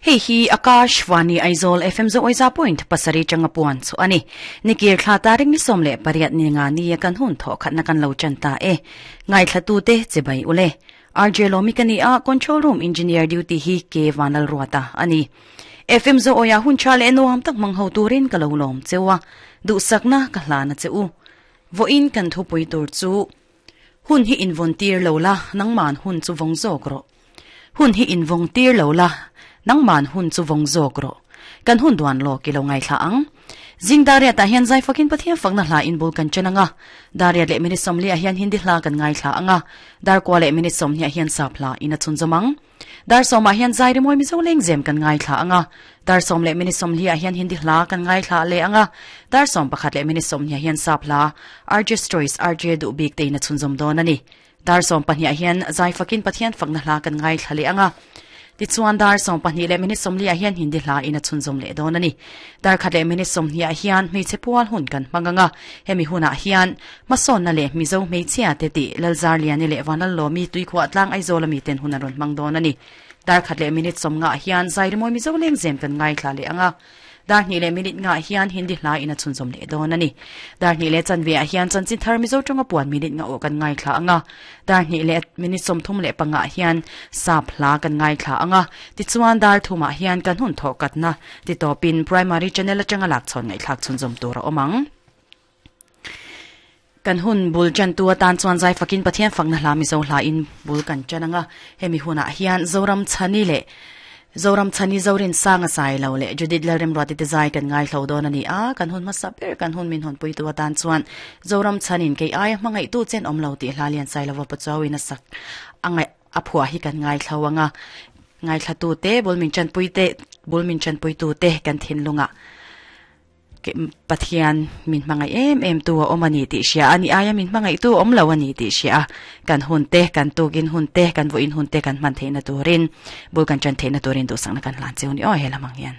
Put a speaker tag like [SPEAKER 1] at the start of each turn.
[SPEAKER 1] Hei hi Akashvani Aizawl FM Zoawiza point pasarih tanga puan chu a ni. Nikir thla tarik ni 18 ni nga ni a kan hun thawh khatna kan lo chan ta e. Ngaithlatute che bai ule. RJ Lomi ka ni a, Control Room Engineer duty hi K Vanlalruata a ni. FM Zoawia hun tha leh nuam tak hmang ho turin ka lo lawm cheu a, duhsakna ka hlan a che u. Vawiin kan thupui tur chu Hun hi invawn tir lo la, nangman hun chu vawng zawk rawh. Hun hi invawng tir lo la, nangman hun chu vawng zawk rawh. Kan hun duan lawk i lo ngaithla ang. Zing Dariat ah hian zai fakin Pathian fakna hla in bul kan chen ang a. Dariat leh minute 40 ah hian Hindi hla kan ngaithla ang a. Darkua leh minute 20 ah hian Sap hla in a chhunzawm ang. Dar sawm ah hian zai rimawi Mizo lengzem kan ngaithla ang a. Dar sawm leh minute 40 ah hian Hindi hla kan ngaithla leh ang a. Dar 11 leh minute 20 ah hian Sap hla RJ Stories RJ duh bik te in a chhunzawm dawn a ni. Dar 12 ah hian zai fakin Pathian fakna hla kan ngaithla leh ang a. Tichuan dar 12 leh minute 40 ah hian Hindi hla in a chhunzawm leh dawn a ni. Dar khat leh minute 20 ah hian hmeichhe pual hun kan hmang ang a. Hemi hunah hian hmasawnna leh Mizo hmeichhia te tih Lalzarliani leh Vanlallawmi Tuikhuah tlang Aizawl ami ten hun an rawn hmang dawn a ni. Dar khat leh minute 50 ah hian zai rimawi Mizo lengzem kan ngaithla leh ang a. Dar hnih leh minute ngah hian Hindi hla in a chhunzawm leh dawn a ni. Dar hnih leh chanve ah hian chanchin thar Mizo tawnga puan minute ngah aw kan ngaithla ang a. Dar hnih leh minute 35 ah hian Sap hla kan ngaithla ang a. Tichuan dar thum ah hian kan hun thawh katna titawpin Primary Channel atanga lakchhawn ngaihthlak chhunzawm tur a awm ang. Kan hun bul tantu atan chuan zai fakin Pathian fakna hla Mizo hla in bul kan tan ang a. Hemi hunah hian Zoram Chhani leh Zoram Chhani Zorin Sanga Sai lo leh Judith Lalremruati te zai kan ngaihlo dawn a ni a. Kan hun hmasa ber kan hun min hawnpuitu atan chuan Zoram Chhanin kei aia hmangaihtu chen awm lo tih hla lian Sailova Pachuauin a sak a ngaih a phuah hi kan ngaithlo ang a. Ngaithlatu te bul min tanpui te bul min tanpuitu te kan thinlungah Pathian min hmangaih em em tu a awm a ni tih hria a, ni aia min hmangaih tu a awm lo a ni tih hria a, kan hun te, kan tukin hun te, kan vawiin hun te kan hman theihna turin, bul kan ṭan theihna turin duhsakna kan hlan cheu ni aw he lamang hian.